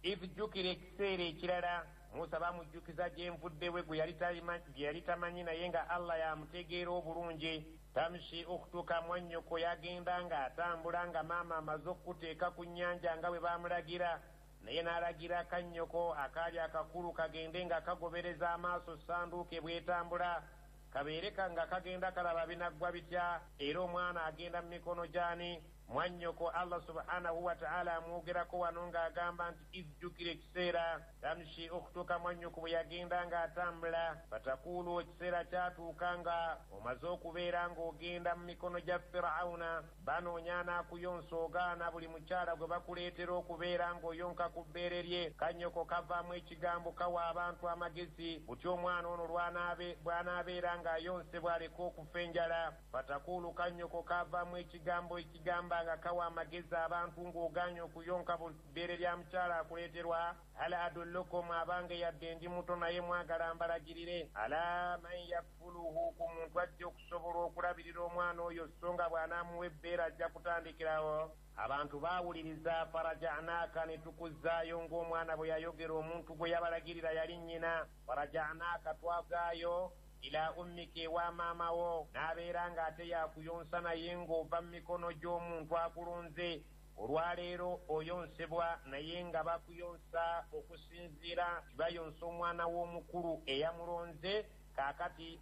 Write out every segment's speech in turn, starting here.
Ijjukira ekiseera ekirala Musa bamujjukiza gye nvuddewe gwe yali tamanyi, naye nga Allah yamutegeera obulungi. Tamshi ukhtuka, mwannyoko yagenda ng'atambula nga maama amaze okukuteeka ku nnyanja nga bwe baamulagira, naye n'alagira kannyoko akaali akakulu kagende nga kagobereza amaaso sanduuke bw'etambula, kabeere nga kagenda kalaba binaggwa bitya, era omwana agenda mu mikono gy'ani? Mwannyoko. Allah subhanahu wataala amwogerako wano ng'agamba nti ijjukira ekiseera tamshi ukhtuka, mwannyoko bwe yagenda ng'atambula. Fatakuulu, ekiseera kyatuuka nga omaze okubeera ng'ogenda mu mikono gya Firawuna, banoonya anaakuyonsa ogaana, buli mukyala gwe bakuleetera okubeera ng'oyonka ku bbeere lye. Kannyoko kavaamu ekigambo kawa abantu amagezi butya omwana ono bw'anaabeera ng'ayonsebwa aleke okufa enjala. Fatakuulu, kannyoko kavaamu ekigambo ekigamba nga kawa amagezi abantu ng'ogaanye okuyonka bbeere lya mukyala akuleeterwa. Hal adullukum, abange yadde ndi muto naye mwagala mbalagirire, ala man yakfuluhu, ku muntu ajja okusobola okulabirira omwana oyo, so nga bw'anaamuwa ebbeere ajja kutandikirawo. Abantu baawuliriza. Farajanaaka, ne tukuzzaayo ng'omwana bwe yayogera, omuntu gwe yabalagirira yali nnyina. Farajanaaka, twazaayo ila ummika, ewa maama wo, n'abeera ng'ate yakuyonsa naye ng'ova mu mikono gy'omuntu akulonze. Olwaleero oyonsebwa naye nga bakuyonsa okusinziira bayonsa omwana w'omukulu eyamulonze. Kaakati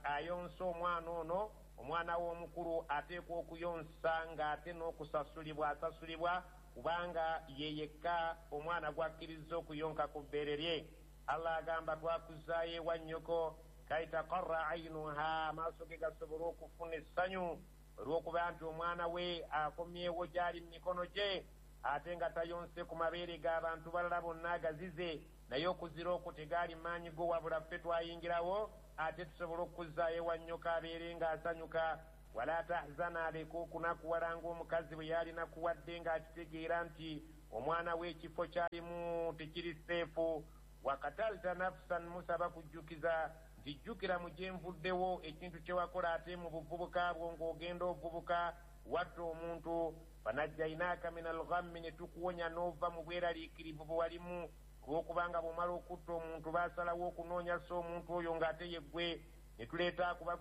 ayonsa omwana ono, omwana w'omukulu ateekwa okuyonsa ng'ate n'okusasulibwa asasulibwa, kubanga ye yekka omwana gw'akkiriza okuyonka ku bbeere lye. Allah agamba twakuzaayo ewa nnyoko, kaitaqarra ainuha, amaaso ge gasobole okufuna essanyu olw'okuba nti omwana we akomyewo gy'ali mu mikono gye, ate nga tayonse ku mabeere g'abantu balala bonna agazize, naye okuzira okwo tegaali maanyi go, wabula ffe twayingirawo ate tusobole okuzzaayo ewa nnyoko abeere ng'asanyuka. Wala tahzana, aleke okunakuwala ng'omukazi bwe yalinakuwadde ng'akitegeera nti omwana we ekifo kyalimu tekiri seefu. Wakatalta nafsan, Musa bakujjukiza nti jjukira mu gye nvuddewo ekintu kye wakola ate mu buvubuka bwo ng'ogenda ovubuka, watta omuntu. Fanajjainaaka min alghammi, ne tukuwonya n'ova mu bweraliikirivu bwe walimu, olw'okubanga bw'omala okutta omuntu baasalawo okunoonya so omuntu oyo ng'ate yeggwe, ne tuleeta akubagulira.